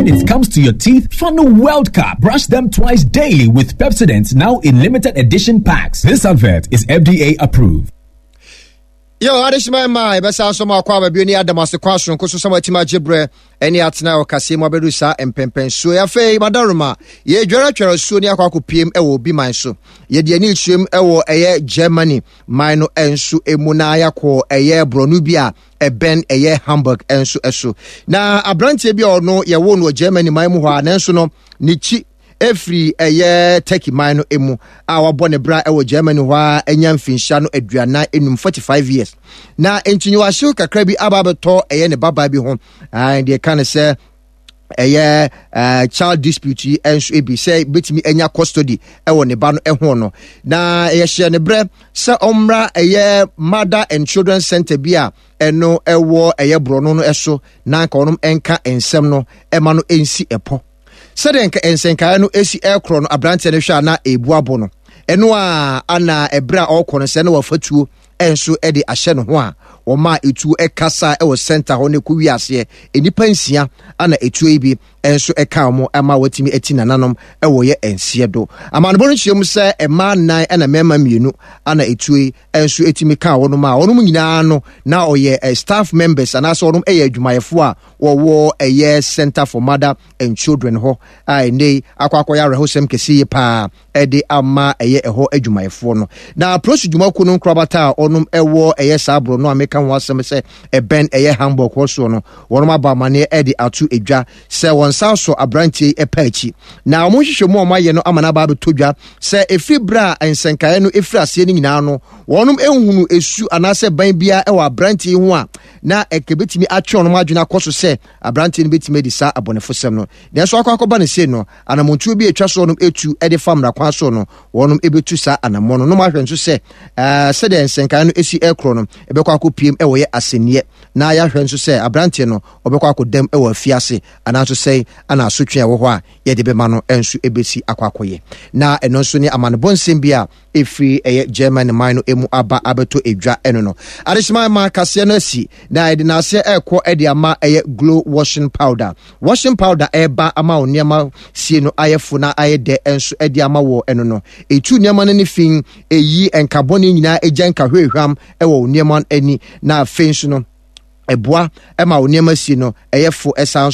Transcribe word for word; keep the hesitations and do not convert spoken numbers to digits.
When it comes to your teeth, Funnel World Cup. Brush them twice daily with Pepsodent now in limited edition packs. This advert is F D A approved. Yo, adehyema ma yɛbɛsa so ma akɔ aba bio ne adam ase kɔ asonko so sɛ matumi agye berɛ ɛne atena wɔ kaseɛ mu abɛdu saa mpɛmpɛnsuo. Afei madaroma yɛdware atware asuo ne akɔ akɔpiem ɛwɔ obi man so. Yɛde ani kyerɛm ɛwɔ ɛyɛ Germany man no nso mu na yɛakɔ ɛyɛ borɔno bi a ɛbɛn ɛyɛ Hamburg nso so. Na aberanteɛ bi a ɔno yɛwo no wɔ Germany man mu hɔ a, nanso no ne kyi efiri ɛyɛ Turkey man no mu a wabɔ ne bra ɛwɔ Germany hɔ a anya mfinhyia no aduanan enum, forty-five years. Na nkyinyiwahyew kakra bi aba abɛtɔ ɛyɛ ne babaa bi ho. Deɛ ka ne sɛ ɛyɛ uh, child dispute yi nso ebi sɛ betumi anya custody ɛwɔ ne ba no ɛho no, na yɛhyɛ ne brɛ sɛ ɔmmra ɛyɛ mother and children center bi a ɛno ɛwɔ ɛyɛ borɔno no ɛso na nka ɔnom ɛnka nsɛm no ɛma no ɛnsi ɛpɔ. Sɛdeɛ nka nsɛnkaeɛ no esi ɛkorɔ no, aberanteɛ no hwɛ a na ebu abo no ɛno a ana ɛberɛ a ɔrekɔ no sɛ na wafa tuo ɛnso ɛde ahyɛ ne ho a wɔma etuo ɛkasa ɛwɔ center hɔ no ɛkɔ wi aseɛ. Nnipa nsia ana etuo yi bi ɛnso ɛka wɔn ama wɔatumi ati nananom ɛwɔ yɛ nseɛ do. Amanobɔ no kyerɛ mu sɛ mmaa nnan ɛna mmarima mmienu ana etuo yi ɛnso etumi ka wɔn a wɔn nyinaa no na ɔyɛ staff members anaasɛ wɔn yɛ adwumayɛfoɔ a wɔwɔ ɛyɛ Center for Mother and Children hɔ a ɛnɛ yi akɔ akɔyɛ awerɛhosɛm kɛse yie paa ɛde ama ɛyɛ ɛhɔ adwumayɛfoɔ no. Na polisi dwumakuo no nkorabata a ɔnom ɛwɔ ɛyɛ saa borɔ no a meka ho asɛm sɛ ɛbɛn ɛyɛ Hamburg hɔ soɔ no, wɔnom abɔ amanneɛ ɛde ato edwa sɛ wɔn nsa so aberanteɛ yi ɛpɛ akyi, na wɔn nhwehwɛ mu a wɔn ayɛ no ama n'aba abɛtɔ dwa sɛ efiri berɛ a nsɛnkaeɛ no efiri aseɛ no nyinaa no, wɔnom ehunu esu anaasɛ ban biara ɛwɔ aberanteɛ yi ho a na ɛkɛ bɛtumi atwe wɔn adwene akɔ so sɛ aberanteɛ no bɛtumi adi saa abɔnefosɛm no. Nanso akɔ akɔba ne sei no, anamontuo bi atwa soɔ no etu de fa mmara kwan so no, wɔnom ebetu saa anammɔ no. Nom ahwɛ nso sɛ ɛɛ sɛdeɛ nsɛnkaeɛ no esi ɛkorɔ no, ɛbɛkɔ akɔpiem ɛwɔ yɛ asɛnniɛ, na yɛahwɛ nso sɛ aberanteɛ no ɔbɛkɔ akɔdam ɛwɔ afiase anaa nso sɛn ana asotwe a ɛwɔ hɔ a yɛde bɛma no nso ebesi akɔ akɔyɛ. Na ɛno nso ne amanebɔ nsɛm bi a ɛfiri ɛyɛ German man no emu aba abɛtɔ edwa. Ɛno no adehyema ma kaseɛ no asi na yɛde n'aseɛ ɛrekɔ ɛde ama ɛyɛ Glow washing powder. Washing powder ɛreba ama wo nneɛma sie no ayɛ fo na ayɛ dɛ nso ɛde ama wɔ. Ɛno no etu nneɛma no ne fi, eyi nkabɔne nyinaa, egya nkahwehwam ɛwɔ wo nneɛma ani, na afei nso no ɛboa ɛma wo nneɛma sie no ɛyɛ fo ɛsan.